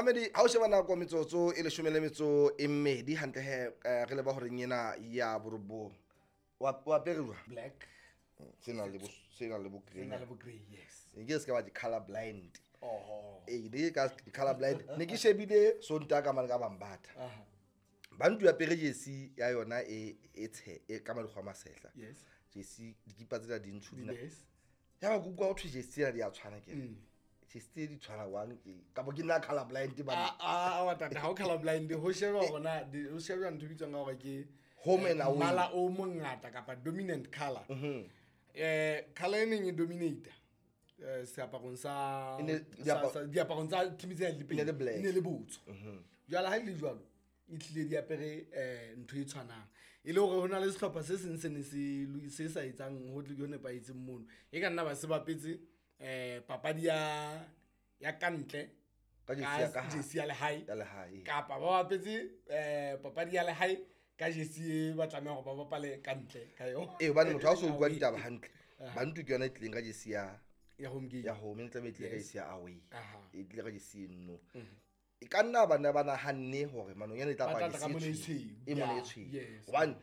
Mamedi, ha o sheba nako, metsotso e 12 hantle he, re leba horeng ena ya 9. Wa apere jwang? Black. Se na le bo Se grey. Na le bo grey, yes. Ke se ka ba di-color blind. Oho. Ee, ne ke ka color blind, ne ke shebile Sontaha ka mane ka Bambatha. Bantu ya apere jersey ya yona e tshe e ka madikgwa a masehla. Jersey, dikipa tsena di ntsho dina. Ya ba ke utlwa ho thwe jersey tsena di a tshwana. Ke re jersey tse di tshwana wang ke kapa ke nna color blind bana? Ah, ah, tata, ha o color blind, ho sheba hore na ho sheba ntho e bitswang ka hore ke home and away. Mmala o mongata kapa dominant color. Color e neng e dominate seaparong sa diaparong tsa team tse le E ne le black. E ne le botsho. Jwale ha e le jwalo, e tlile di apere ntho e tshwanang, e le hore ho na le sehlopha se seng se ne se sa etsang ho tle ho nepahetseng mono, e ka nna ba se bapetse papadi ya kantle ka jersey ya ka hare. Jersey ya lehae. Ya lehae. Kapa ba bapetse papadi ya lehae ka jersey e ba tlameha hore ba bapale ka ntle ka yona. Ee, hobane motho ha o so utlwa ditaba hantle, Bantu ke yona e tlileng ka jersey ya Ya home game. Ya home, e tlabe e tlile ka jersey ya away. E tlile ka jersey eno, e ka nna bana ba nahanne hore Manonyane e tla Ba apara tla tla ka jersey mona e e tshweu, tshweu. e mona e tshweu. Hobane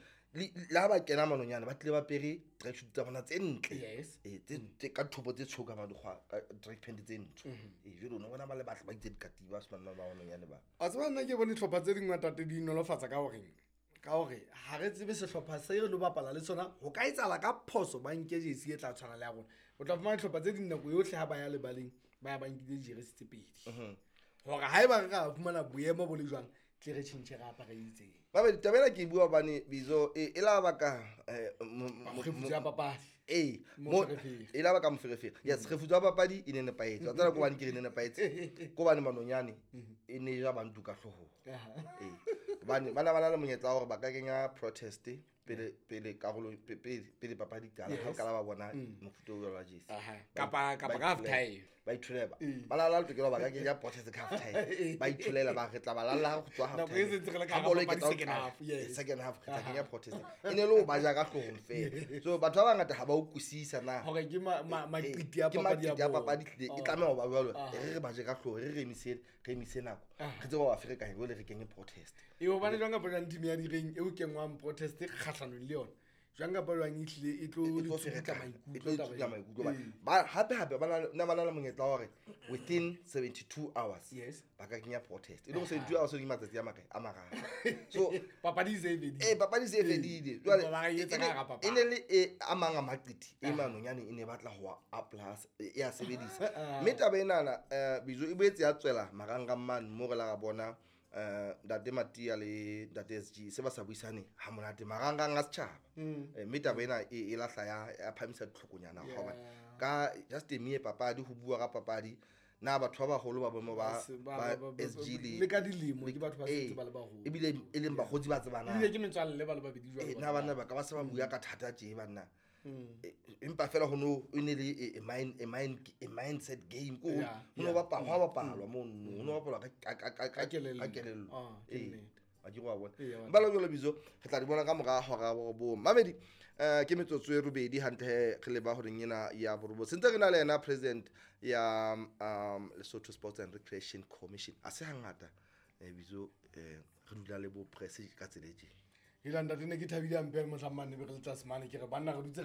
le ha ba kena Manonyane, ba tlile ba apere tracksuit tsa bona tse ntle. Ee, tse ka thopo tse tshweu, ka madikgwa, ka track pant tse ntsho. Ee, jwale o no bona ba le batle ba itse dikatiba se banna ba Manonyane ba. A tseba, nna ke bone dihlopha tse ding, tate, di nolofatsa ka horeng, ka hore ha re tsebe sehlopha se re lo bapala le sona, ho ka etsahala ka phoso ba nke jersey e tla tshwana le ya rona. O tla fumana dihlopha tse ding, nako yohle ha ba ya lebaleng, ba ya ba nkile dijeresi tse pedi, hore haeba re ka fumana boemo bo le jwang, tle re tjhentjhe, re apare e itseng. Babedi, taba ena ke e bua hobane bizo e la baka kgefutso ya papadi. Ee. Moferefere. E la baka moferefere, yes. Kgefutso ya papadi e ne nepahetse wa tsena, ko bane ke re ne nepahetse ko bane Manonyane e ne ja Bantu ka hloohong. Ee, hobane bana ba na le monyetla wa hore ba ka kenya protest pele karolo pele papadi qala, ha o qala ba bona mofuta o jwalo wa jersey. Kapa ka half time. Ba itholela, ba na le tokelo, ba ka kenya protest ka half time, ba itholela, ba re tla ba lalla ha go tswa half Nako e time. se ntse re le ka Ha hara bolo e papadi qeta ho second qala, half, yes. Second half re tla kenya protest, e ne le ho ba ja ka hloohong fela. So batho ba bangata ha ba utlwisisa na hore ke maqiti a ke papadi ya maqiti a bona. papadi, tlile e tlameha ho ba jwalo. Re ba je ka hlooho, re emise nako, re tsebe ho ba ferekanya, jwale re kenye protest. E hobane jwang kapa jwang, team ya direng eo kenngwang protest kgahlanong le yona, jwang kapa jwang e tlile e tlo E tlo le tsukutla ferekana, maikutlo e tlo taba tsukutla eo. maikutlo. Hobane ba hape hape ba na ba na le monyetla wa hore within 72 hours ba ka kenya protest, e le hore 72 hours ke matsatsi a makae? A 3. So Papadi e se e fedile. Ee, papadi se e fedile. Empa Jwale ba e etsa ka hara e papadi. ne le e a mang a maqiti e Manonyane e ne batla ho a plus e a sebedisa. Mme taba enana, bizo e boetse ya tswela marangrang mane mo re la ra bona ntate Matia le ntate SG se ba sa buisane ha monate marangrang a setjhaba. Mme taba ena e lahla ya phamisa ditlhokonyana, hobane ka just a mere papadi, ho bua ka papadi, na batho ba baholo ba boemo ba ba SG le Le ka dilemo ke batho ba sentse ba le baholo. Ebile e leng bakgotsi ba tsebanang. Ebile ke metswalle ba le babedi jwalo. Na banna ba ka ba se ba bua ka thata tje banna? Empa fela ho no e ne le a mindset game ko ho no bapalwa, ho bapalwa mono, ho no bapalwa Ka kelello. Ka kelello. Ah, ke nnete. Wa ke wa bona. Ee, wa Ba jwalo bizo re tla di bona ka mora hora ya 9. Mamedi, ke metsotso e 8 hantle he re leba horeng ena ya 9, sentse re na le yena president ya Lesotho Sports and Recreation Commission. A se hangata, bizo, re dula le bo press ka tsela e tje. Hela ntate, ne ke thabile hampe mohlang mane be re le tlase mane, ke re banna re dutse.